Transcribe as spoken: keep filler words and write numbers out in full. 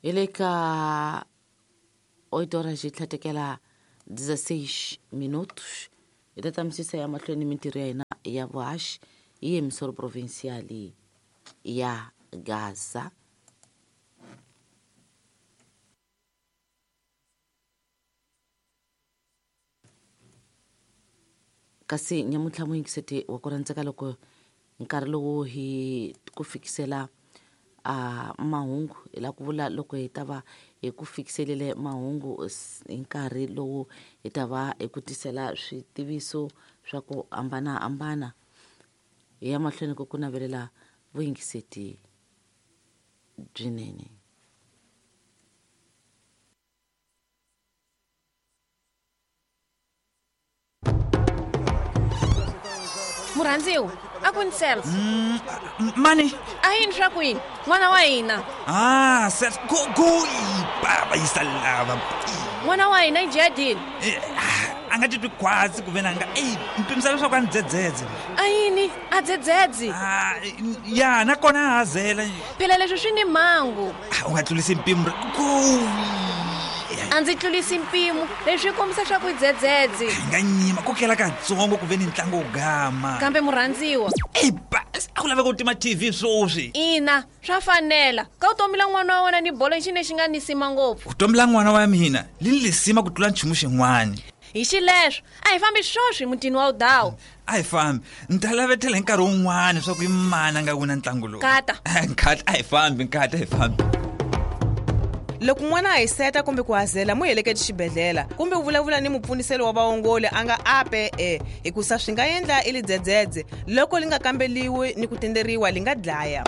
Hi le ka oito horas yi tlhatekela dezesseis minutos. Hi ta tamisisa ya mahlweni mintirho ya hina ya vuhaxi hi emissora provincial ya Gaza. Kasi nyamuntlha muyingiseti wa ku rhandzeka loko nkarhi lowu hi ku fikisela a mahungu hi la ku vula loko hi ta va hi ku fikiselile mahungu hi nkarhi lowu hi ta va hi ku tisela switiviso swa ku hambanahambana. Hi ya mahlweni ku ku navelela vuyingiseti byinene. Murhandziwa, a ku ni Celso. Mm, mani? A yini swa ku yini? N'wana wa hina. Ah, Celso, go go baba yi salava. N'wana wa hina i jadini. A nga titwi khwatsi ku ve na nga ey mpimisa leswaku a ni dzedzedze. A yini? A dzedzedze? Ah, ya nakona a hazela. Phela leswi swi ni mhangu. U nga tlulisi mpimo. Go. A ndzi tlulisi mpimo, leswi kombisa swa ku dzedzedze. Nga nyima ku kela katsongo ku ve ni ntlangu wo gama. Kambe murhandziwa. Ey, a ku laveka ku tima T V sweswi. Ina, swa fanela. Ka vutomi la n'wana wa wena ni bolo xi lexi nga nisima ngopfu. Vutomi la n'wana wa mina li ni lisima ku tlula nchumu xin'wana. Hi xileswo, a hi fambi sweswi mutini wa Udawu. A hi fambi. Ni ta lavetela hi nkarhi wun'wana swa ku i mani a nga wina ntlangu lowu. Kata. Nkata, a hi fambi, nkata, a hi fambi. Loko n'wana a hiseta kumbe ku hazela mu heleketi xibedhlele kumbe u vulavula ni mupfuniselo wa vaongoli a nga ape e hikusa swi nga endla i lidzedzedze loko li nga kambeliwi ni ku tenderiwa li nga dlaya.